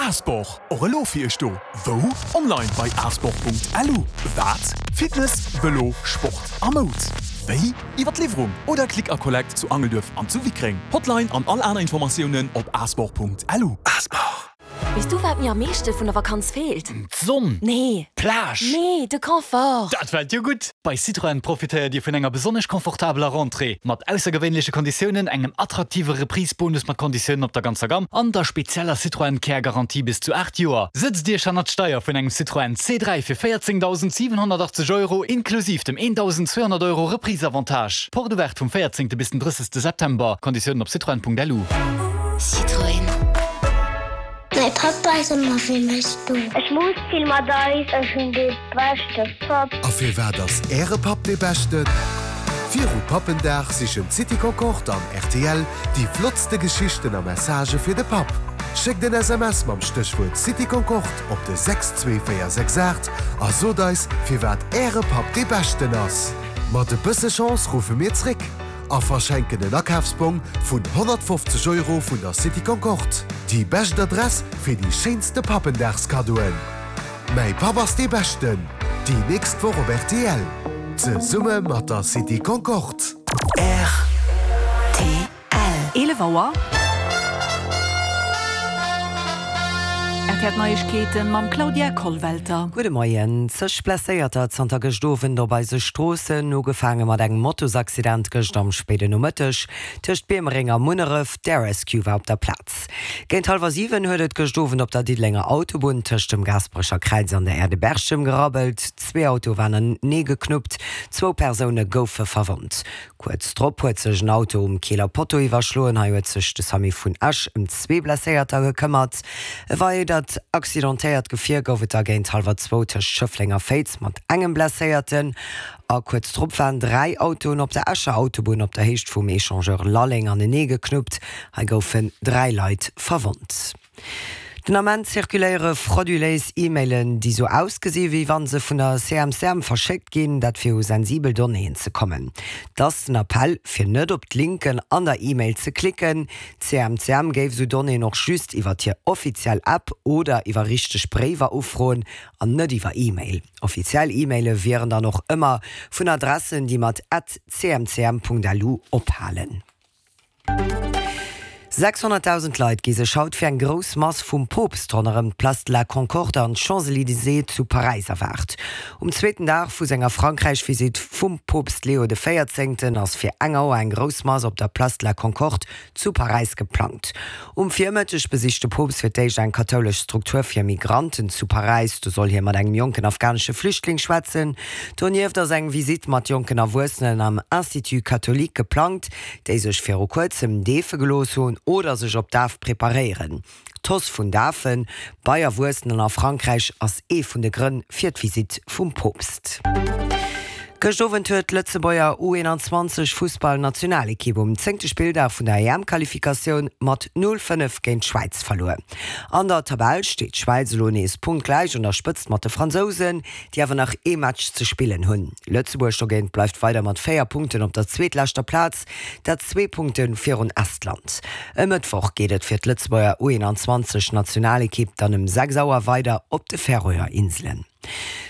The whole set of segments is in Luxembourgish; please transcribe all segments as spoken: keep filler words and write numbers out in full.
Asport, och elo fir iech do. Wou? Online bei asport.lu. Wat? Fitness, Vëlo, Sport a Moud. Wéi? Iwwer d'Liwwerung oder Click a Collect zu Angelduerf an zu Wickreng. Hotline an all aner Informatiounen op asport.lu. Asport. Weess du wat mir am meeschte vun der Vakanz feelt? D'Sonn! Nee! D'Plage! Nee, de Confort! Dat fält jo gutt! Bei Citroën profitéiert Dir vun enger besonnesch confortabeler Rentrée, mat aussergewéinleche Konditiounen, engem attraktive Reprise-Bonus mat Konditiounen op der ganzer Gamm an der spezieller Citroën Care Garantie bis zu aacht Joer. Sëtzt Iech hannert d'Steier vun engem Citroën C dräi fir véierzéngdausend siwenhonnertachtzeg Euro inklusiv dem eendausend zweehonnert Euro Reprise-Avantage. Porte ouverte vum véierzéngte bis den drëssegste September. Konditiounen op citroën.lu. Citroën. Mäi Papp ass ëmmer fir mech do. Ech schmus vill mat eis, ech hunn dee beschte Papp. A firwat ass Äre Papp dee beschten? Viru Pappendag sichen City Concorde an R T L déi flottste Geschichten a Messagë fir de Papp. Schéckt en S M S mam Stéchwuert City Concorde op de sechs zwee véier sechs aacht a sot eis, firwat Äre Papp dee beschten ass. Mat e bësse Chance ruffe mir zréck a verschenken en Akafsbong vun honnertfofzeg Euro vun der City Concorde. Déi bescht Adress fir déi schéinste Pappendagskaddoen. Mäi Papp ass dee beschten. Déi nächst Woch op R T L. Zesumme mat der City Concorde. R T L. eelef Auer. R T L Neiegkeeten mam Claudia Kollwelter. Gudde Moien. Zeg Blesséierter zanter gëscht Owend op eise Stroossen, ugefaange mat engem Motosaccident gëscht am spéiden Nomëtteg tëscht Biermereng a Munneref. D'Air Rescue war op der Plaz. Géint hallwer siwen huet et gëscht Owend op der Diddelenger Autobunn tëscht dem Gaasperecher Kräiz an der Aire de Berchem gerabbelt. Zwee Autoe waren anenee geknuppt, zwou Persoune goufe verwonnt. Kuerz drop huet sech en Auto um Keeler Potto iwwerschloen. Hei huet sech de Samu vun Esch ëm zwee Blesséierter gekëmmert. E weidert accidentéiert Gefier gouf et da géint hallwer zwou tëscht Schëffleng a Féiz mat engem Blesséierten. A kuerz drop waren dräi Autoen op der Escher Autobunn op der Héicht vum Echangeur Lalleng anenee geknuppt. Hei goufen dräi Leit verwonnt. Den Ament zirkuléiere frauduléis E-Mailen, déi sou ausgesi wéi wann se vun der C M C M verschéckt ginn, dat fir u sensibel Donnéeën ze kommen. Dat ass den Appell fir net op d'Linken an der E-Mail ze klicken. C M C M géif sou Donnéeën och just iwwer hir offiziell App oder iwwer richteg Bréiwer ufroen an net iwwer E-Mail. Offiziell E-Maile wieren dann och ëmmer vun Adressen, déi mat at C M C M Punkt L U ophalen. sechshonnertdausend Leit gi sech haut fir eng grouss Mass vum Poopst ronderëm d'Place de la Concorde an d'Champs-Élysées zu Paräis erwaart. Um zweeten Dag vu senger Frankräich-Visitt vum Poopst Leo de Véierzéngten ass fir eng Auer eng grouss Mass op der Place de la Concorde zu Paräis geplangt. Um Virmëtteg besicht de Poopst fir d'éischt eng kathoulesch Struktur fir Migranten zu Paräis. Do soll hie mat engem jonken afghanesche Flüchtling schwätzen. Donieft ass eng Visitt mat jonken Erwuessenen am Institut catholique geplangt, déi sech viru kuerzem deefe gelooss hunn oder sech op d'Daf preparéieren. D'Hausse vun Dafe bei Erwuessenen a Frankräich ass ee vun de Grënn fir d'Visitt vum Poopst. Gëscht Owend huet d'Lëtzebuerger U eenanzwanzeg Fussballnationalekipp um zéngte Spilldag vun der E M-Qualifikatioun mat null fënnef géint d'Schwäiz verluer. An der Tabell steet d'Schwäiz elo nees punktgläich un der Spëtzt mat de Fransousen, déi awer nach ee Match ze spillen hunn. Lëtzebuerg dogéint bleift weider mat véier Punkten op der zweetleschter Plaz, dat zwee Punkte virun Estland. E Mëttwoch geet et fir d'Lëtzebuerger U eenanzwanzeg Nationalekipp dann ëm sechs Auer weider op de Färöer Inselen.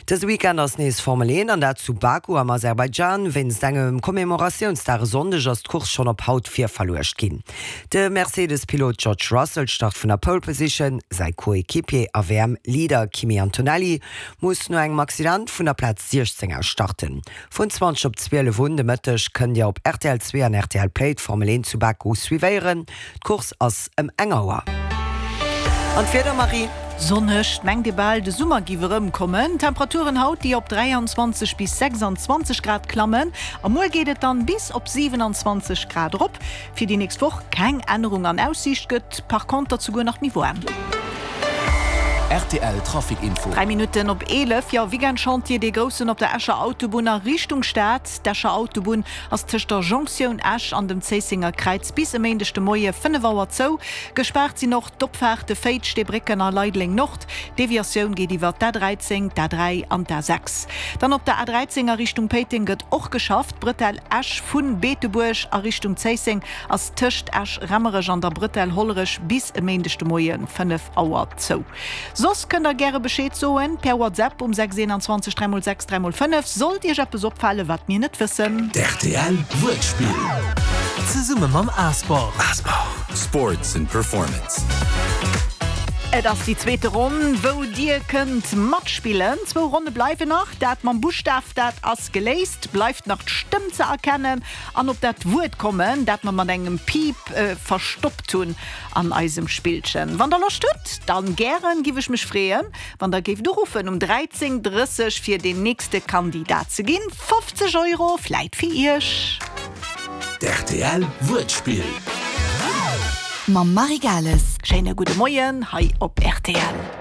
Dëse Weekend ass nees Formel een an dat zu Baku am Aserbaidschan. Wéinst engem Commemoratiounsdag e Sonndeg ass d'Course schonn op haut virverluecht ginn. De Mercedes-Pilot George Russell start vun der Pole Position, säi Coéquipier a W M-Leader Kimi Antonelli muss no engem Accident vun der Plaz siechzéng aus starten. Vun zwanzeg op zwielef un de Mëtteg kënnt Dir op R T L zwee an R T L Play d'Formel een zu Baku suivéieren. D'Course ass ëm eng Auer. An d'Wieder, Marie? Sonneg, mengt ee bal de Summer giff erëmkommen. Temperaturen haut déi op dräianzwanzeg bis sechsanzwanzeg Grad klammen a muer geet et dann bis op siwenanzwanzeg Grad erop. Fir déi nächst Woch keng Ännerung an Aussiicht, gëtt par konter souguer nach méi waarm. Rtl Trafic Info. Dräi Minutten op eelef, jo, Weekend-Chantier, dee groussen op der Escher Autobunn a Richtung Stad. D'Escher Autobunn ass tëscht der Jonktioun Esch an dem Zéissenger Kräiz bis e Méindeg de Moie fënnef Auer zou. Gespaart sinn och d'Opfaarte Féiz, Steebrécken a Leideleng Nord. D'Deviatioun geet iwwer d'A dräizéng, d'A dräi an d'A sechs. Dann op der A dräizéng a Richtung Péiteng gëtt och geschafft. D'Bretelle Esch vu Beetebuerg a Richtung Zéisseng ass tëscht Esch-Rammerech an der Bretelle Hollerech bis e Méindeg de Moie fënnef Auer zou. Soss kënnt der gäre Bescheed soen per WhatsApp um sechs eenanzwanzeg dräi mol sechs dräi mol fënnef, sollt iech eppes opfalen, wat mir net wëssen. D'RTL Wuertspill zesumme mam Asport. Sports and Performance. Et ass déi zweete Ronn, wou dir kënnt matspillen. Zwou Ronne bleiwen nach. Dat mam Buschtaf, dat ass geléist. Bleift nach d'Stëmm ze erkennen an op dat Wuert kommen, dat mer mat engem Piip verstoppt hunn an eisem Spillchen. Wann der Loscht hutt, dann gären, giff ech mech freeën, wann der géift uruffen um dräizéng drësseg fir deen nächste Kandidat ze ginn. fofzeg Euro vläit fir iech. D'RTL Wuertspill. Mam Marie Gales. Schéine gudde Moien hei op rtl.